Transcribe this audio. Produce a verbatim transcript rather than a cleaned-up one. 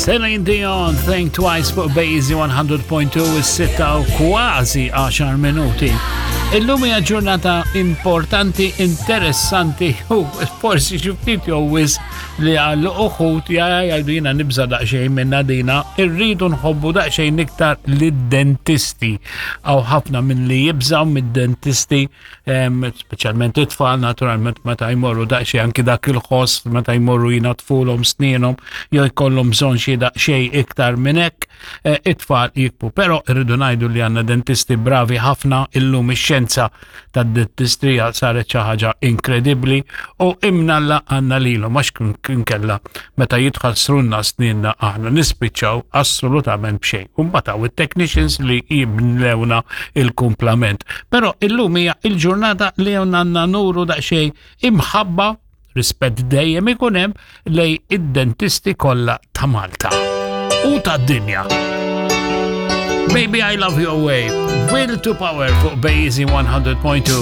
Celine Dion, Think Twice fuq Bejzi one hundred point two, is-sitta u kważi għaxar minuti. Illum hija ġurnata importanti, interessanti u forsi xi ftit jew wisq li għal uħud jgħidu jiena nibża daqsxejn minna dina, irridu nħobbu daqsxejn iktar lid-dentisti. Hawn ħafna minn li jibżaw mid-dentisti, em, speċjalment it-tfal naturalment, meta jmorru daqsxejn anki dak il-ħoss meta jmorru jnaddfulhom snienhom jew jkollhom bżonn xi daqsxejn iktar minn hekk, eh, it-tfal jibku. Però irridu ngħidu li għandna dentisti bravi ħafna. Illum ix-xjenza tad-dentistrija saret xi ħaġa inkredibbli u imnalla għandna lilhom, għax kien kella meta jitħassrunna sninna aħna nispiċċaw assolutament b'xejn. U mbagħad hawn it-technicians li jibnewna il-kumplament. Però illum hija il-ġurnata li għandna nuru daqsxejn imħabba, rispett dejjem ikun hemm lejn id-dentisti kollha ta' Malta u tad-dinja. Baby, I Love Your Way, Will to Power fuq Bejzi one hundred point two.